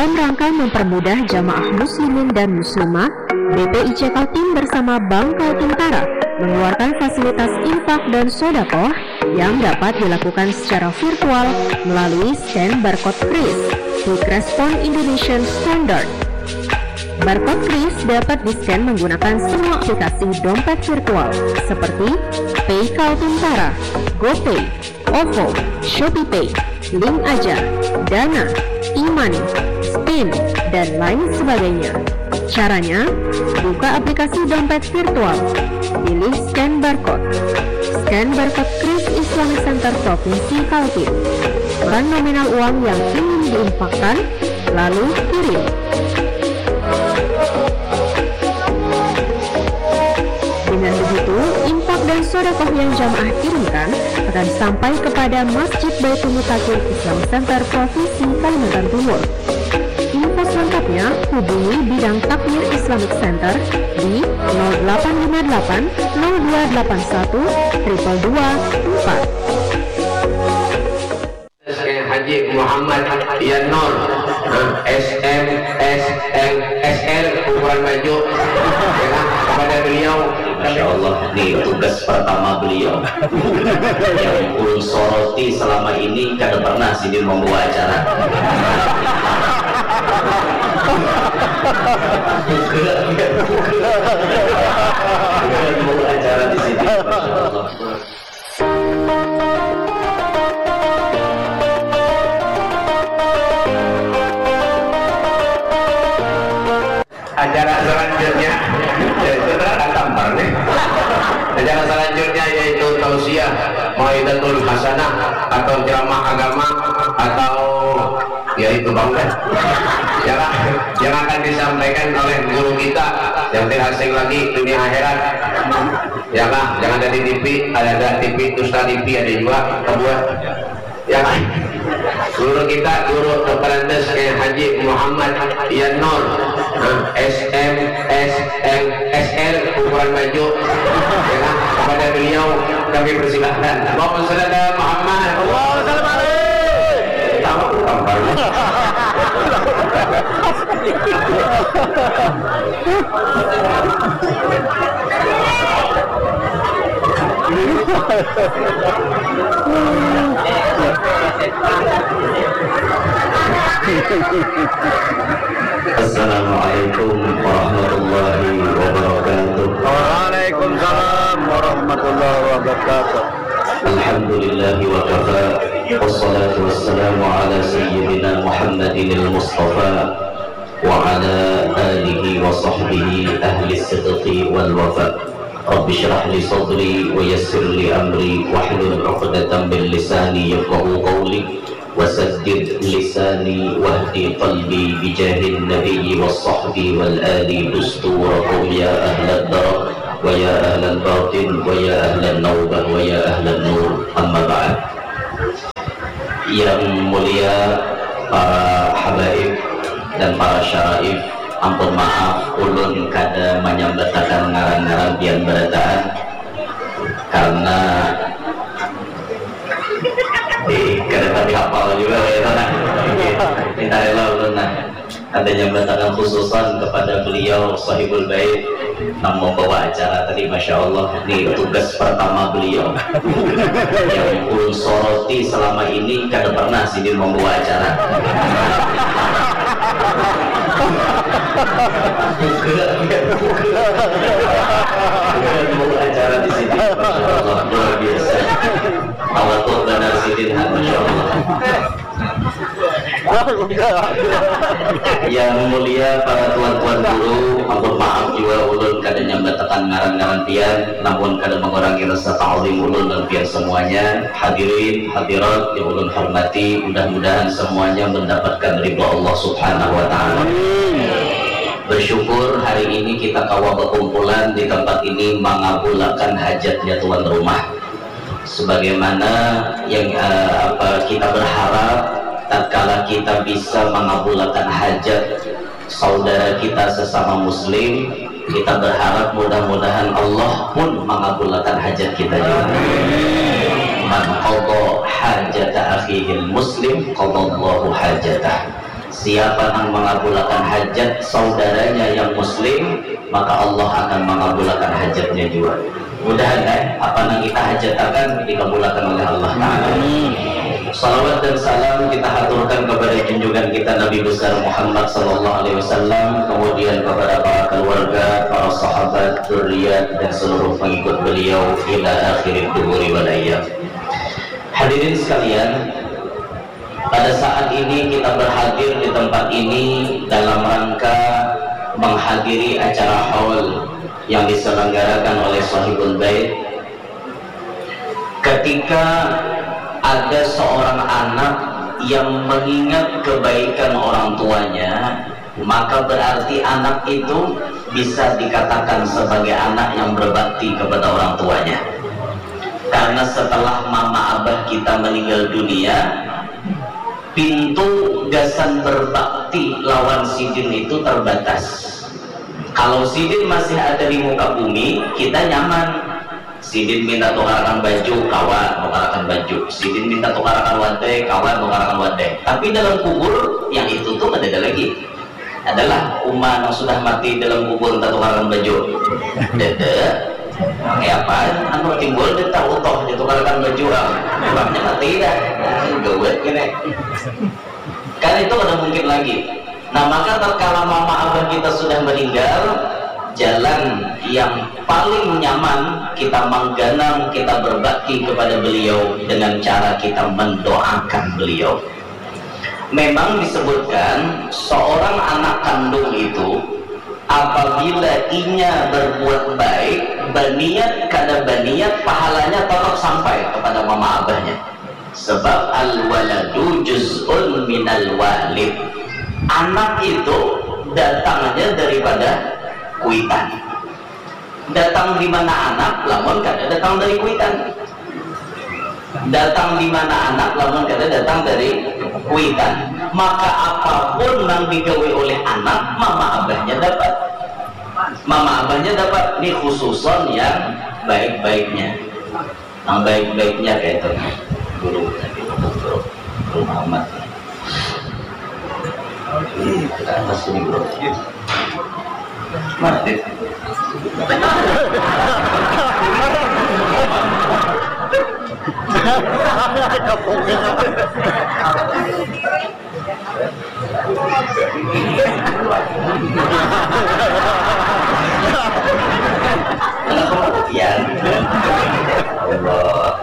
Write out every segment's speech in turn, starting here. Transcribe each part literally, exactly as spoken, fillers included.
Dalam rangka mempermudah jamaah muslimin dan muslimat, B P I C Kaltim bersama Bank Kaltim Tara mengeluarkan fasilitas infak dan sodakoh yang dapat dilakukan secara virtual melalui scan barcode kris, Quick Response Indonesian Standard. Barcode kris dapat di-scan menggunakan semua aplikasi dompet virtual seperti Pay Kaltim Tara, GoPay, OVO, ShopeePay, Link Aja, Dana, e-money, Spin, dan lain sebagainya. Caranya, buka aplikasi dompet virtual, pilih scan barcode. Scan barcode kris Islamic Center Provinsi Kaltim. Tekan nominal uang yang ingin diinfakkan, lalu kirim. Dengan begitu, infak dan sodakoh yang jamaah kirimkan akan sampai kepada Masjid Baitul Mutakin Islam Center Provinsi Kalimantan Timur. Info selengkapnya hubungi Bidang Takmir Islamic Center di nol delapan lima delapan nol dua delapan satu triple dua empat. Haji Muhammad Yanur, S M S L S L ukuran baju, ya kan? Kepada beliau. Masya Allah, ini tugas pertama beliau. Yang ulun soroti selama ini kada pernah sidin membawa acara. Bukan, bukan. Bukan membawa acara di sini. Masya Allah. Acara selanjutnya, ya, itu terang tampar nih. Acara selanjutnya yaitu tausiah, mau'izatul hasanah, atau ceramah agama, atau ya itu bang deh. Ya lah, yang akan disampaikan oleh guru kita yang tidak asing lagi dunia akhirat. Ya lah, jangan ada di T V, ada, ada T V, dusta T V ada juga, kebuat. Ya kan? Guru kita, guru Doktorandes Kiai Haji Muhammad Yanur, nah, S M S L S L ukuran baju. Ya kan? Kepada beliau kami persilahkan. Allahumma sholli ala Muhammad. Allahumma sholli alaihi. Tahu apa? Assalamualaikum warahmatullahi wabarakatuh. Waalaikumsalam warahmatullahi wabarakatuh. Alhamdulillahi wa kafa. Wassalatu wassalamu ala sayyidina Muhammadinil Mustafa wa ala alihi wa sahbihi ahli sidqi wal wafa. Rabbi shrah li sadri wa yassir li amri wahlul uqdatam min lisani yafqahu qawli. Wasaddid lisani wahdi qalbi bijahin nabiyyi was sahbi wal ali dusturakum ya ahlad darah wa ya ahlal batin wa ya ahlan naubah wa ya ahlan nur, amma ba'd. Yang mulia para habaib dan para syaraif, ampun maaf ulun kada manyambatakan ngaran-ngaran pian barataan karena eh, kada tapi hafal juga ya nah. Minta rela ulun nah. Ada nyambatakan khususan kepada beliau sahibul bait nang membawa acara tadi, masya Allah, ini tugas pertama beliau. Yang ulun soroti selama ini kada pernah sidin membawa acara. Bukan, bukan. Bukan membawa acara di sini, masya Allah, luar biasa. Tawaduk banar sidin, ha, masya Allah. Yang mulia para tuan-tuan guru, ampun maaf jua ulun kada nyambatakan ngaran-ngaran pian, namun kada mengurangi rasa ta'zim ulun dan pian semuanya. Hadirin hadirat yang ulun hormati, mudah-mudahan semuanya mendapatkan ridha Allah Subhanahu wa Ta'ala. Bersyukur hari ini kita kawa berkumpulan di tempat ini mengabulakan hajatnya tuan rumah. Sebagaimana yang eh, apa kita berharap, tatkala kita bisa mengabulakan hajat saudara kita sesama muslim, kita berharap mudah-mudahan Allah pun mengabulakan hajat kita juga. Man qadha hajata akhihil muslim qadallahu hajatah. Siapa nang mangabulakan hajat saudaranya yang muslim, maka Allah akan mangabulakan hajatnya jua. Mudahan eh, apa nang kita hajatakan dikabulakan oleh Allah Ta'ala. Salawat dan salam kita haturkan kepada junjungan kita Nabi besar Muhammad sallallahu alaihi wasallam, kemudian kepada para keluarga, para sahabat, zuriat, dan seluruh pengikut beliau ila akhir duhuri wal ayyam. Hadirin sekalian, pada saat ini kita berhadir di tempat ini dalam rangka menghadiri acara haul yang diselenggarakan oleh Sohibul Bait. Ketika ada seorang anak yang mengingat kebaikan orang tuanya, maka berarti anak itu bisa dikatakan sebagai anak yang berbakti kepada orang tuanya. Karena setelah mama abah kita meninggal dunia, pintu gasan berbakti lawan sidin itu terbatas. Kalau sidin masih ada di muka bumi, kita nyaman. Sidin minta tukarakan baju, kawa tukarakan baju. Sidin minta tukarakan wadai, kawa tukarakan wadai. Tapi dalam kubur, yang itu tuh ada lagi. Adalah uma yang sudah mati dalam kubur minta tukarakan baju. Dede. Kayak apa? Anu timbul dia tak utuh dia tukarakan baju orang. Orangnya mati dah. Gawat gini. Kan itu kada mungkin lagi. Nah, maka tatkala mama abah kita sudah meninggal, jalan yang paling nyaman kita mengganang, kita berbakti kepada beliau dengan cara kita mendoakan beliau. Memang disebutkan seorang anak kandung itu apabila inya berbuat baik, baniat kada baniat, pahalanya tetap sampai kepada mama abahnya. Sebab al-waladu juz'un minal walid. Anak itu datangnya daripada kuitan. Datang di mana anak, lamun kada datang dari kuitan. Datang di mana anak, lamun kada datang dari kuitan. Maka apapun nang digawi oleh anak, mama abahnya dapat. Mama abahnya dapat. Ini khususon yang baik-baiknya. Yang baik-baiknya kayak itu. Guru, guru, guru Muhammad. Ke atas ini, bro. Mana dia? Kenapa matian? Allah.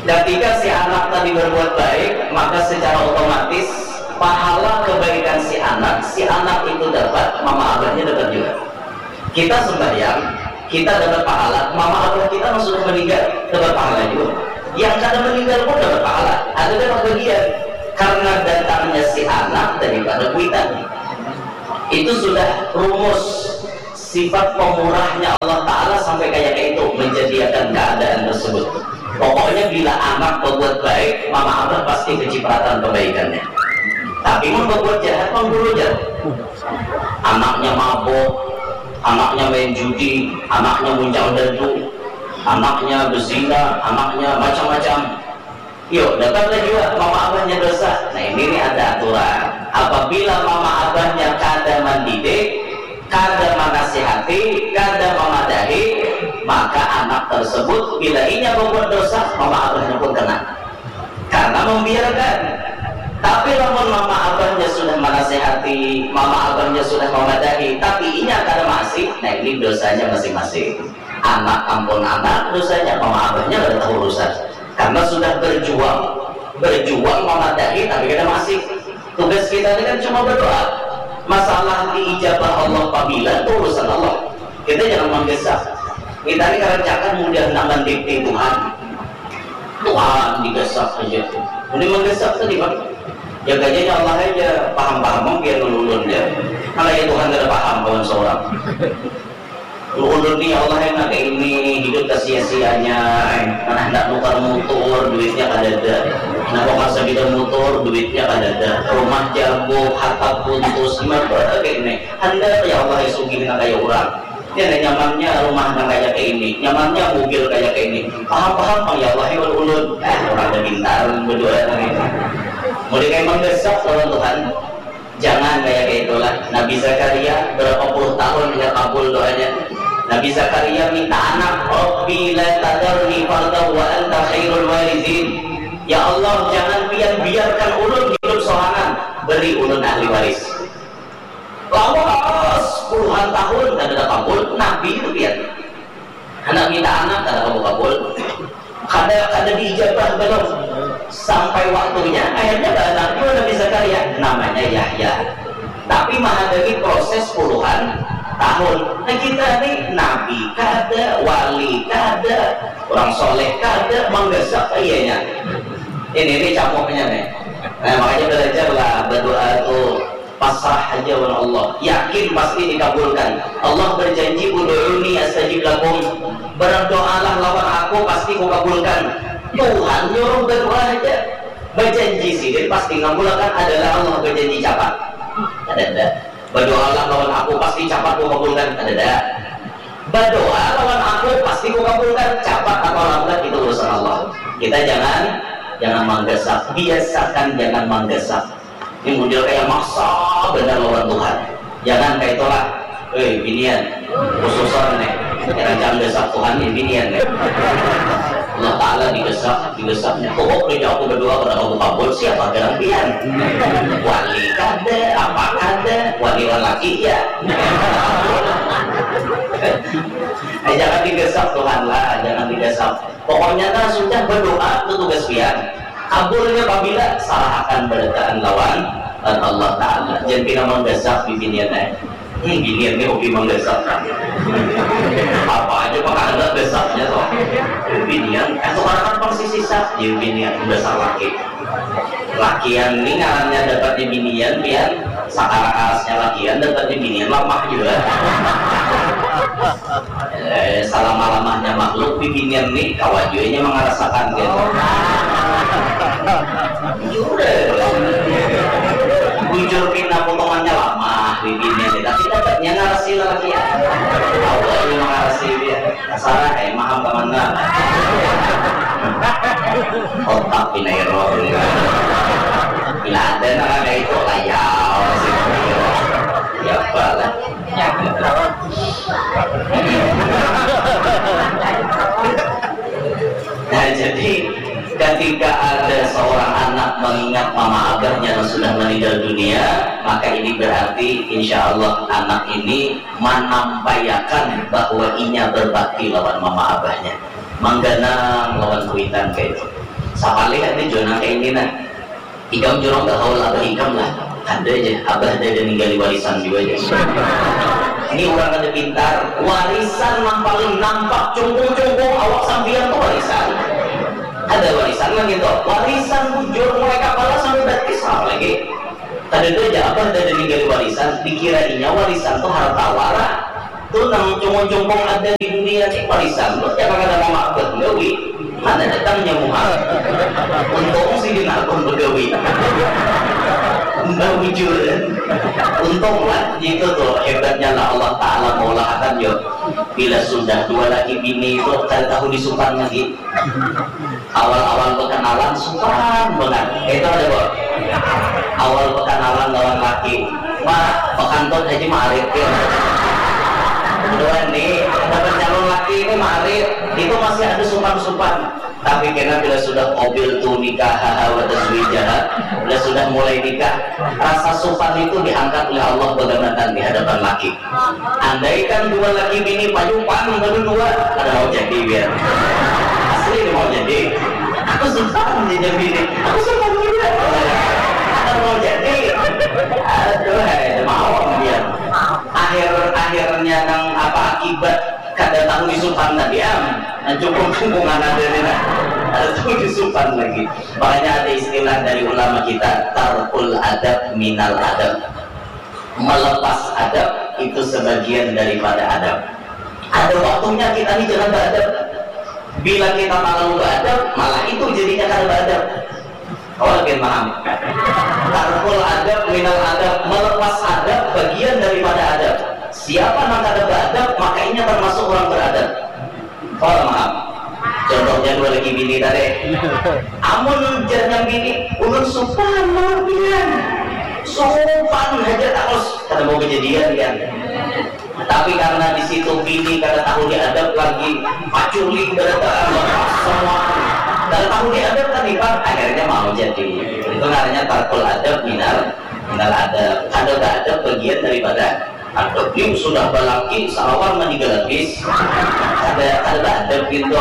Ketika si anak tadi berbuat baik, maka secara otomatis pahala kebaikan si anak, si anak itu dapat, mama abahnya dapat juga. Kita sembahyang, kita dapat pahala, mama abah kita yang sudah meninggal dapat pahala juga. Yang kada meninggal pun dapat pahala, ada dapat bagian. Karena datangnya si anak daripada kuitan. Itu sudah rumus sifat pemurahnya Allah Ta'ala sampai kayak itu menjadikan keadaan tersebut. Pokoknya bila anak berbuat baik, mama abah pasti kecipratan kebaikannya. Tapi mun berbuat jahat, mah guru jauh. Anaknya mabuk, anaknya main judi, anaknya muncang dadu, anaknya berzina, anaknya macam-macam. Yuk, dapatlah juga mama abahnya dosa. Nah, ini nih ada aturan. Apabila mama abahnya kada mendidik, kada menasihati, kada memadahi, maka anak tersebut bila inya berbuat dosa, mama abahnya pun kena. Karena membiarkan. Tapi lamun mama abahnya sudah menasihati, mama abahnya sudah memadahi, tapi inya kada masih, nah ini dosanya masing-masing. Anak ampun anak dosanya, mama abahnya kada tahu urusan. Karena sudah berjuang, berjuang memadahi tapi kada masih. Tugas kita ini kan cuma berdoa. Masalah diijabah Allah pabila itu urusan Allah. Kita jangan manggesak. Kita ini karancakan mudah nang mandikti Tuhan. Tuhan digasak aja. Ini manggasak tadi, Pak. Ya, gajahnya Allah aja, paham-paham mungkin ulun ya. Kalau ya Tuhan kada paham kawan seorang. Ulun ni ya Allah, enak ini hidup sia-sianya. Mana hendak nukar motor, duitnya kada ada. Nah, nukar sabida motor, duitnya kada ada. Rumah jabuk, hatap putus, gimana kayak ini? Hendak ya Allah, ya sugih nang kaya urang. Ya, nah, nyamannya rumah nang kaya ini, nyamannya mobil kaya ini. Paham-paham pang ya Allah ya ulun. Ah, orang ada pintar berdoa nang ini. Mulai kayak menggesek lawan Tuhan. Jangan kayak kayak itulah. Nabi Zakaria berapa puluh tahun nggak kabul doanya. Nabi Zakaria minta anak, Rabbi la tadarni farda wa anta khairul warithin. Ya Allah, jangan pian biarkan ulun hidup sorangan, beri ulun ahli waris. Lawas puluhan tahun kada ada kabul, Nabi itu pian. Anak minta anak kada kabul-kabul. Kada kada diijabah belum. Sampai waktunya akhirnya beranak juga Nabi Zakaria, namanya Yahya. Tapi menghadapi proses puluhan tahun. Nah kita nih nabi kada, wali kada, orang soleh kada, menggesek iyanya. Ini ini campurnya nih. Nah, makanya belajarlah berdoa tuh pasrah aja wan Allah, yakin pasti dikabulkan. Allah berjanji, "Ud'uni astajib lakum." Berdoalah lawan aku, pasti kukabulkan. Tuhan nyuruh berdoa aja. Berjanji sidin pasti ngabulakan, adalah Allah berjanji capat. Ada ada. Berdoalah lawan aku, pasti capat kukabulkan. Ada ada. Berdoa lawan aku, pasti kukabulkan. Capat atau lambat itu urusan Allah. Kita jangan jangan manggasak, biasakan jangan manggasak. Ini model kayak maksa benar lawan Tuhan. Jangan kayak itulah. Hei, binian, khususan nih, jangan gasak Tuhan nih binian nih. Allah Ta'ala digasak, digasaknya. Oh, kerja aku berdoa pada aku kabul, siapa gerak pian? Wali kada, apa kada, wali lelaki ya. Eh, jangan digasak Tuhan lah, jangan digasak. Pokoknya nah sudah berdoa itu tugas pian. Kabulnya pabila sarahakan barataan lawan dan Allah Ta'ala. Jangan pina manggasak bibinian eh. Hmm, binian ni hobi manggasak. Apa aja mah ada gasaknya toh. Binian, eh tukarakan pang sisisa. Ya binian, gasak laki. Lakian ni ngarannya dapat di binian, pian. Sakara karasnya lakian dapat di binian lamah juga. Eh, salama-lamahnya makhluk bibinian ni kawa jua inya mangarasakan gitu. Jua. Bujur pina potongannya lamah bibinian ni, tapi tetapnya ngarasi lalakian. Kawa jua mangarasi dia. Kasarah ai maham ka mana. Otak pina error. Bila ada nang ada itu layau. Ya apa lah. Nah, jadi ketika ada seorang anak mengingat mama abahnya yang sudah meninggal dunia, maka ini berarti insya Allah anak ini manampaiakan bahwa inya berbakti lawan mama abahnya, mangganang lawan kuitan kayak itu. Sapalih ada jua nang kayak ini nah. Ikam jua nang bahaul abah ikam lah. Ada aja, abah ada ada ninggali warisan jua aja. Ini orang ada pintar, warisan nang paling nampak cungkung-cungkung awak sampian tuh warisan. Ada warisan nang gitu, warisan bujur mulai kapala sampai batis sama lagi. Kada ada aja abah ada ada ninggali warisan, dikira inya warisan tuh harta wara. Tuh nang cungkung-cungkung ada di dunia ni warisan tuh, jangan ada mama abah gawi. Mana datangnya muha? Untung si Ginarkun begawi. Mbah bujur. Untung lah, itu tuh hebatnya lah Allah Ta'ala maulahakan yo. Bila sudah dua laki bini itu kada tahu disupan lagi. Awal-awal berkenalan supan banget. Itu ada kok. Awal berkenalan lawan laki. Ma, bakantut haji marit ya. Dua nih, dapat calon laki ini marit. Itu masih ada supan-supan. Tapi kena bila sudah qabiltu nikahaha wa tazwijaha, bila sudah mulai nikah, rasa supan itu diangkat oleh Allah begamatan di hadapan laki. Andaikan dua laki bini payupan berdua, kada mau jadi biar. Asli mau jadi. Aku supan jadi bini. Aku supan juga. Kada mau jadi. Aduh, hai, mau biar. Akhir akhirnya nang apa akibat kada tahu isupan tadi am. Nah, cukup cukup ada ni nah. Ada tahu isupan lagi. Makanya ada istilah dari ulama kita, tarkul adab minal adab. Melepas adab itu sebagian daripada adab. Ada waktunya kita ni jangan beradab. Bila kita terlalu beradab, malah itu jadinya kada beradab. Kawan pian paham? Tarkul adab minal adab, melepas adab bagian daripada adab. Siapa nang kada beradab, maka inya termasuk orang beradab. Kawan paham? Contoh Yang dua lagi bini tadi. Amun jarnya bini, ulun supan mawar pian. Supan haja taus, kada mau kejadian pian. Tapi karena di situ bini kada tahu diadab lagi, paculi barataan, semua kada tahu diadab tadi, Pak, akhirnya mau jadi. Itu namanya tarkul adab minal, minal adab. Kada ada bagian daripada adab. Ni sudah balaki, salawar mandi galabis. Kada, kada ada adab gitu.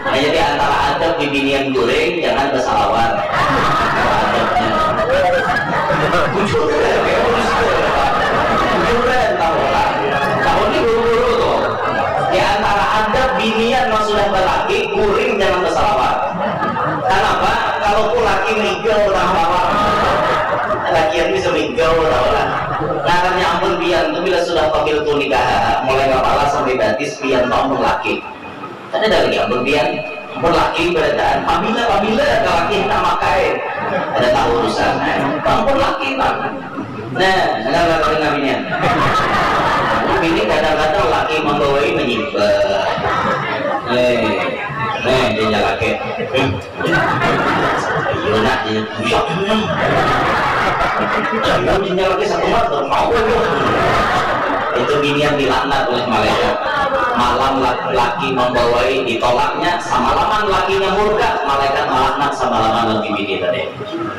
Nah, jadi antara adab di binian guring, jangan basalawar. Adabnya. Bujur, ya, bujur, Pak. Bujur, kan, tahu, Pak. Tahu ni guru-guru tuh. Di antara adab binian yang sudah balaki, guring jangan basalawar. Kenapa? Kalau ku laki migel, tahu, Pak. Lakian bisa migel, tahu lah. Ngarannya ampun pian tuh bila sudah pamil tuh nikah, mulai kepala sampai batis pian tuh ampun laki. Kada ada lagi ampun pian, ampun laki barataan. Pamila, pamila, laki kita makai. Ada tahu urusan. Ampun laki, Pak. Nah, dengar lah kalian namanya. Ini kadang-kadang laki membawai menyibah. Eh, eh, dia laki. Hmm. Ayo nak, dia buyak. Hmm. Ayo, dia laki satu mat, mau aja. Itu bini yang dilaknat oleh malaikat. Malam laki-laki membawai, ditolaknya, semalaman lakinya murka, malaikat melaknat semalaman lagi bini tadi.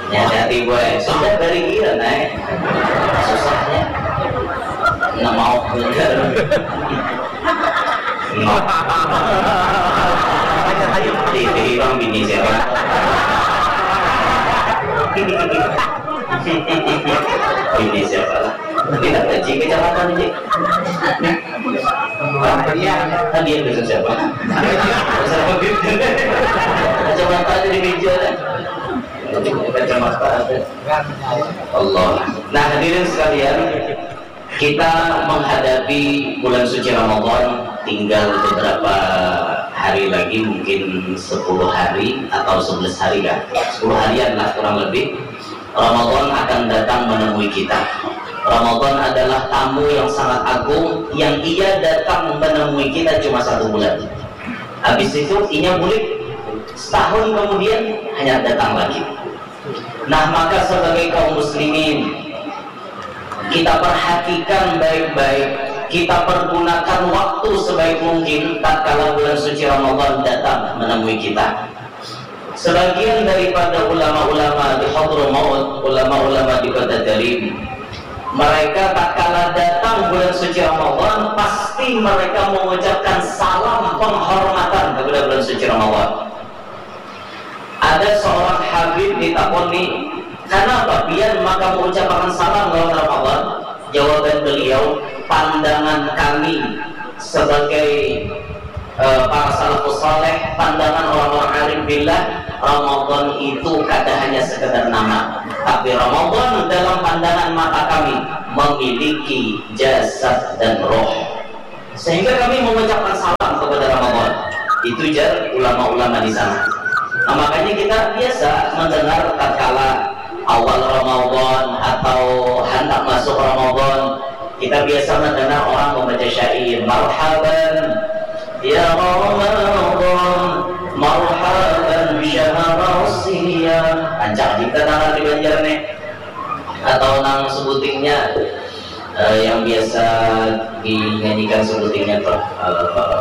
Ya, hati-hati, boy. Sudah dari dia, naik. Susahnya. Nah, mau bener. No. Di, di bang bini siapa? Bini siapa? Kita kaji kecamatan ini. Hadiah, hadiah besok siapa? Kecamatan di meja. Kecamatan. Allah. Nah, hadirin sekalian, kita menghadapi bulan suci Ramadan, tinggal beberapa hari lagi, mungkin sepuluh hari atau sebelas hari, kan? Sepuluh harian lah kurang lebih. Ramadan akan datang menemui kita. Ramadan adalah tamu yang sangat agung, yang ia datang menemui kita cuma satu bulan. Habis itu, inya bulik. Setahun kemudian, hanya datang lagi. Nah, maka sebagai kaum muslimin, kita perhatikan baik-baik, kita pergunakan waktu sebaik mungkin tatkala bulan suci Ramadan datang menemui kita. Sebagian daripada ulama-ulama di Hadramaut, ulama-ulama di Kota Jarim, mereka tatkala datang bulan suci Ramadan, pasti mereka mengucapkan salam penghormatan kepada bulan suci Ramadan. Ada seorang Habib ditakoni, "Kenapa pian maka mengucapkan salam lawan Ramadan?" Jawaban beliau, "Pandangan kami sebagai, eh, para salafus saleh, pandangan orang-orang alim billah, Ramadan itu kada hanya sekedar nama, tapi Ramadan dalam pandangan mata kami memiliki jasad dan roh." Sehingga kami mengucapkan salam kepada Ramadan. Itu jar ulama-ulama di sana. Nah, makanya kita biasa mendengar tatkala awal Ramadan atau hendak masuk Ramadan, kita biasa mendengar orang membaca syair, "Marhaban ya Ramadan, marhaban syahrul siyam." Rancak kita dengar di Banjar nih. Atau nang sebutingnya, eh, yang biasa dinyanyikan sebutingnya tuh, eh,